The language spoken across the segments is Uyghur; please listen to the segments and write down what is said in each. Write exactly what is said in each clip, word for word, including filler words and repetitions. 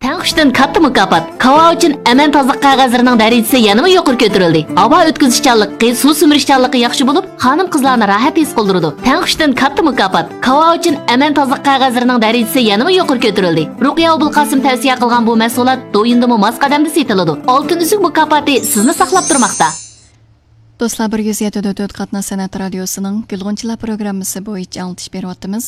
تەڭ كۈچتىن كاتتا مۇكاپات. كاۋاۋىچىن ئەمەن تازىلىق قەغەزلىرىنىڭ دەرىجىسى يەنىمۇ يۇقىرى كۆتۈرۈلدى. ھاۋا ئۆتكۈزۈشچانلىقى، سۇ سۈمۈرۈشچانلىقى ياخشى بولۇپ، خانىم-قىزلارنى راھەت ھېس قىلدۇرىدۇ. تەڭ كۈچتىن كاتتا مۇكاپات. كاۋاۋىچىن ئەمەن تازىلىق قەغەزلىرىنىڭ دەرىجىسى يەنىمۇ يۇقىرى كۆتۈرۈلدى. رۇقىيە ئوبۇلقاسىم تەۋسىيە قىلغان بۇ مەھسۇلات دويىندىمۇ ماس قەدەمدە سېتىلىدۇ. ئالتۇن ئۈزۈك مۇكاپاتى سىزنى ساقلاپ تۇرماقتا. دوستلار، بىر يۈز يەتتە نۆل تۆت قاتناش سەنئەت رادىيوسىنىڭ گۈلغۇنچىلار پروگراممىسى بويىچە ئاڭلىتىش بېرىۋاتىمىز.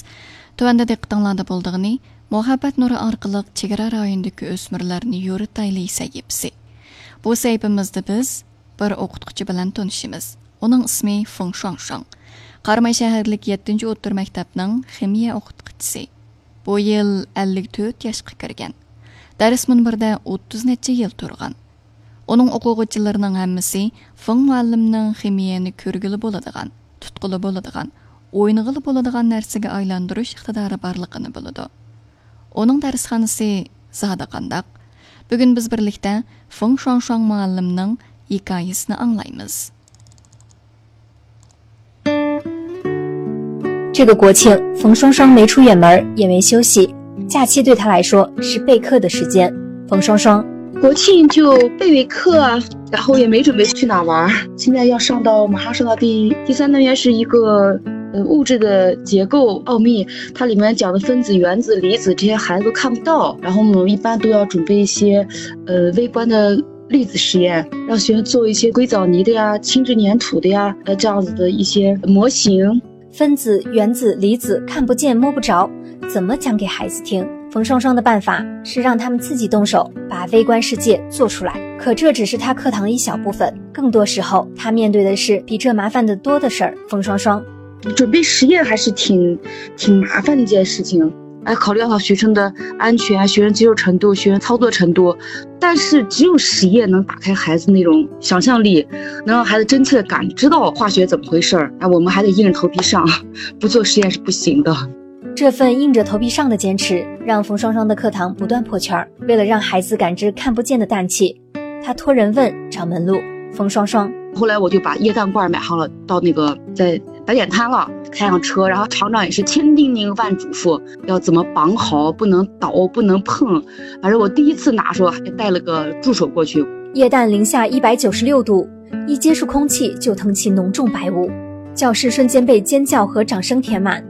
تۆۋەندە دىققىتىڭلاردا بولىدىغىنى، مۇھەببەت نۇرى ئارقىلىق چېگرا رايونىدىكى ئۆسمۈرلەرنى يورۇتايلى سەھىپىسى. بۇ سەھىپىمىزدە بىز بىر ئوقۇتقۇچى بىلەن تونۇشىمىز. ئۇنىڭ ئىسمى فېڭ شۇاڭشۇاڭ. قاراماي شەھەرلىك يەتتىنچى ئوتتۇرا مەكتەپنىڭ خىمىيە ئوقۇتقۇچىسى. بۇ يىل ئەللىك تۆت ياشقا كىرگەن. دەرس مۇنبىرىدە ئوتتۇز نەچچە يىل تۇرغان. ئۇنىڭ ئوقۇغۇچىلىرىنىڭ ھەممىسى فېڭ مۇئەللىمنىڭ خىمىيەنى كۆرگىلى بولىدىغان، تۇتقىلى بولىدىغان، ئوينىغىلى بولىدىغان نەرسىگە ئايلاندۇرۇش ئىقتىدارى بارلىقىنى بىلىدۇ. ئۇنىڭ دەرسخانىسى زادى قانداق؟ بۈگۈن بىز بىرلىكتە فېڭ شۇاڭشۇاڭ مۇئەللىمنىڭ ھېكايىسىنى ئاڭلايمىز. 这个国庆，冯双双没出远门，也没休息，假期对她来说是备课的时间。冯双双，国庆就备备课啊，然后也没准备去哪玩儿。现在要上到马上上到第第三单元是一个呃物质的结构奥秘，它里面讲的分子、原子、离子这些孩子都看不到，然后我们一般都要准备一些呃微观的粒子实验，让学生做一些硅藻泥的呀、轻质粘土的呀，呃这样子的一些模型。分子、原子、离子看不见摸不着，怎么讲给孩子听？冯双双的办法是让他们自己动手，把微观世界做出来。可这只是他课堂的一小部分，更多时候他面对的是比这麻烦得多的事儿。冯双双，准备实验还是挺挺麻烦的一件事情。要考虑到学生的安全、学生接受程度、学生操作程度，但是只有实验能打开孩子那种想象力，能让孩子真切的感知到化学怎么回事儿。哎，我们还得硬着头皮上，不做实验是不行的。这份硬着头皮上的坚持，让冯双双的课堂不断破圈儿。为了让孩子感知看不见的氮气，他托人问找门路。冯双双，后来我就把液氮罐买好了，到那个在白点摊了，开上车，然后厂长也是千叮咛万嘱咐，要怎么绑好，不能倒，不能碰。反正我第一次拿的时候还带了个助手过去。液氮零下一百九十六度，一接触空气就腾起浓重白雾，教室瞬间被尖叫和掌声填满。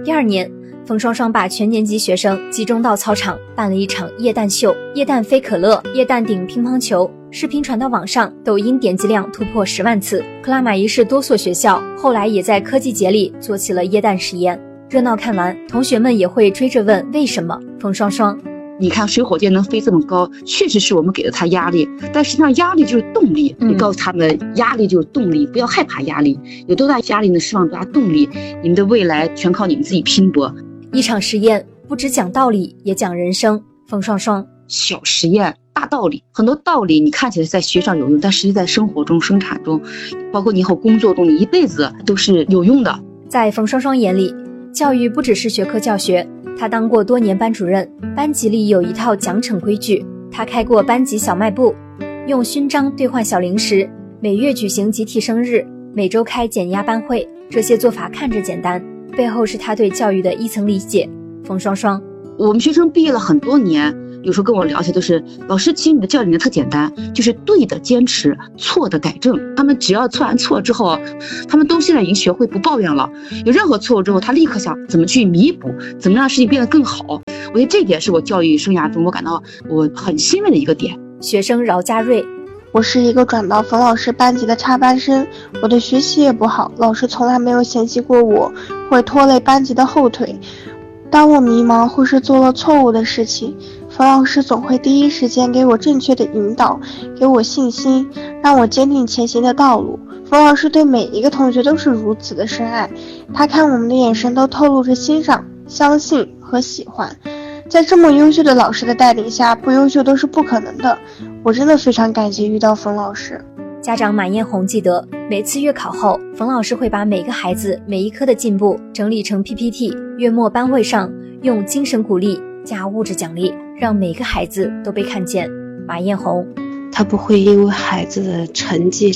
第二年，冯双双把全年级学生集中到操场，办了一场液氮秀。液氮飞可乐、液氮顶乒乓球，视频传到网上，抖音点击量突破十万次。克拉玛依市多所学校后来也在科技节里做起了液氮实验。热闹看完，同学们也会追着问为什么。冯双双，你看水火箭能飞这么高，确实是我们给了它压力，但实际上压力就是动力。你告诉他们，压力就是动力，不要害怕压力。有多大压力呢？释放多大动力。你们的未来全靠你们自己拼搏。一场实验不只讲道理，也讲人生。冯双双，小实验大道理，很多道理你看起来在学校有用，但实际在生活中、生产中，包括你以后工作中，你一辈子都是有用的。在冯双双眼里，教育不只是学科教学，她当过多年班主任，班级里有一套奖惩规矩。她开过班级小卖部，用勋章兑换小零食，每月举行集体生日，每周开减压班会。这些做法看着简单，背后是她对教育的一层理解。冯双双，我们学生毕业了很多年，有时候跟我聊起都是，老师，其实你的教育理念特简单，就是对的坚持，错的改正。他们只要犯完错之后，他们都现在已经学会不抱怨了。有任何错误之后，他立刻想怎么去弥补，怎么让事情变得更好。我觉得这一点是我教育生涯中我感到我很欣慰的一个点。学生饶家瑞，我是一个转到冯老师班级的插班生，我的学习也不好，老师从来没有嫌弃过我会拖累班级的后腿。当我迷茫或是做了错误的事情，冯老师总会第一时间给我正确的引导，给我信心，让我坚定前行的道路。冯老师对每一个同学都是如此的深爱，他看我们的眼神都透露着欣赏、相信和喜欢。在这么优秀的老师的带领下，不优秀都是不可能的。我真的非常感谢遇到冯老师。家长马艳红记得，每次月考后，冯老师会把每个孩子每一科的进步整理成 P P T，月末班会上用精神鼓励加物质奖励，让每个孩子都被看见。马艳红，他不会因为孩子的成绩